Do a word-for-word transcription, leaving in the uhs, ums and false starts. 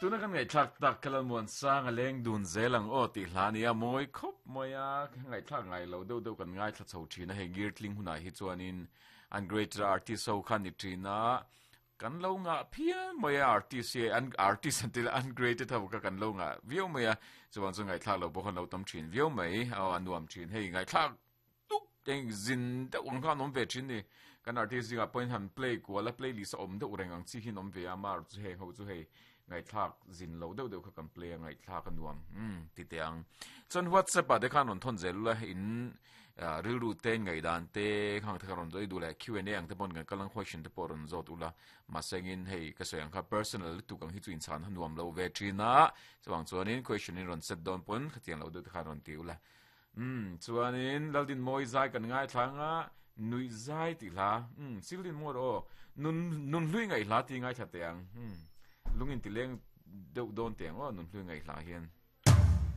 Tuna kan ngaihthlak tak ka Lalmuansanga leng dun zel ang aw tih hla nia mawi khawp mai a, ngaihthlak ngai lo deuh deuh kan ngaithla chho thin a, hei Girtling hunah hi chuanin an greater artist ho kha ni thin a, kan lo ngah phian mai a artist hi an artist an ti la ungraded ho kha kan lo ngah viau mai a, chuvang chu ngaihthlak lo pawh khan lo tam thin viau mai aw a nuam thin hei ngaihthlak tuk eng zin deuh ang kha an awm ve thin ni kan artist zingah pawhin han play kual a playlist a awm deuh reng ang chi hi an awm ve a mar chu heng ho chu hei ngaihthlak zin lo deuh deuh kha kan play a ngaihthlak a nuam umm ti teh ang chuan whatsapp ah te khan rawn thawn zel ula in rilru te ngaihdan te khang te kha rawn zawih duh leh Q and A ang te pawhin kan kal ang question te pawh rawn zawt ula mahse engin hei ka sawi ang kha personal lutuk ang hi chu inchhan a nuam lo ve thin a chuvang chuanin question in rawn set dawn pawn khatiang lo deuh te khan rawn ti ula Umm chuanin Laldinmawi zai kan ngaithla anga nuih zai tih hla umm Sildinmawi rawh aw nun nun hlui ngaih hla tih ngaithla teh ang umm lung inti leng deuh dawn teh ang aw nun hlui ngaih hla hian.